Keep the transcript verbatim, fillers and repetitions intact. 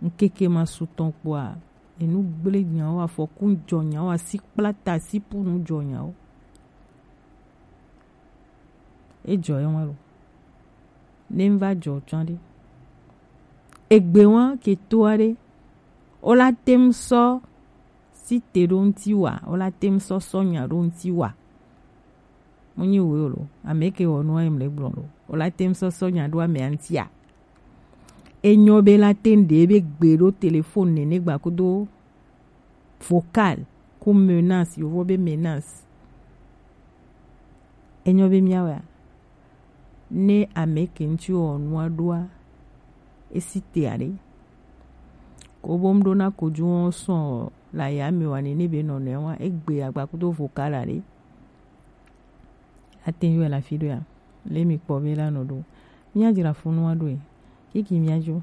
Ŋkeke ma su tɔn kpoa, enu gble nyawo, afɔku jɔ nyawo, asi kpla ta, asi punu jɔ nyawo. E jɔ ye wa lo. Ne n va jɔ tsɔ ɖe. Egbe wa ke to aɖe. O la tem sɔ si te ɖo ŋuti wa, o la tem sɔ sɔ nya ɖo ŋuti wa. Mo nyi wo lo. Ame ke wɔ nua em le gblɔ lo. O la tem sɔ sɔ nya ɖo ame ŋuti a. Enyo be la tem ɖe be gbe ɖo téléphone nene gba kudo vocal ku menace, yovo be menace. Enyo be miawea, ne ame ke ŋuti wɔ nua ɖoa, esi te aɖe. Ko bo m ɖo na kojú wɔn sɔn la ya me wa nene be nɔnɔe wa, egbe agba kudo vocal aɖe. Ate ŋu yɔe le afi ɖoea? Le mi kpɔ be la nɔ ɖo. Mía dzra funu wa ɖoe. Kiki mía dzo.